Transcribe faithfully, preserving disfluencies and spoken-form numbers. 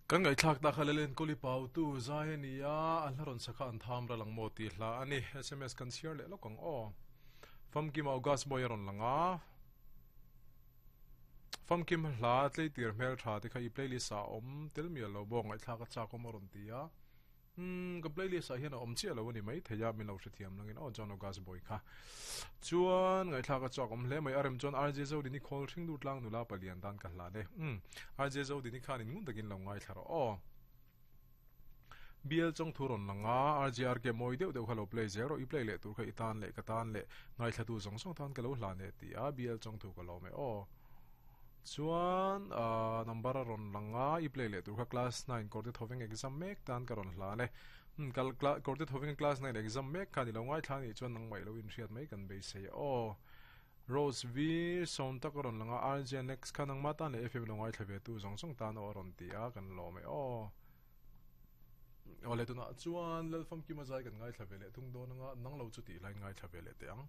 Kan ngaihthlak tak kha Lalenkawli Pautu zai a ni a, a hla rawn sakha an tham ral ang maw tih hla a ni. S M S kan chhiar leh lawk ang aw. Famkim August Boy a rawn lang a. Famkim hla tleitir hmel tha te kha i playlist ah awm tel mial lo bawk, ngaihthlak a chak awm a rawn ti a. Umm ka playlist ah hian a awm chiah lo a ni mai thei a, min lo hrethiam langin aw John August Boy kha. Chuan ngaihthlak a chak awm hle mai, a rem chuan R J Zodini khawl hring lut tlang nula palian tan ka hlan e. Umm R J Zodini khan in ngun takin lo ngaithla rawh aw. B L chawng thu rawn lang a, R J R K mawi deuh deuh kha lo play zel rawh, i play leh tur kha i tan leh ka tan leh ngaithlatu zawng zawng tan ka lo hlan e ti a, B L chawng thu ka lawm e aw. Chuan ahh number a rawn lang a, i play leh tur kha class nine Kawrte Thoveng exam mek tan ka rawn hlan e. Umm kal Kawrte Thoveng class nine exam mek khan i lo ngaithla anih chuan nangmah i lo inhriat mai kan beisei aw. Rose V sawm tak a rawn lang a, R J Next kha nangmah tan leh F M lo ngaithla ve tu zawng zawng tan aw a rawn ti a, kan lawm e aw. Awle tunah chuan Lalfamkima zai kan ngaithla ve leh thung dawn anga, nang lo chu tih hlain ngaithla ve leh teh ang.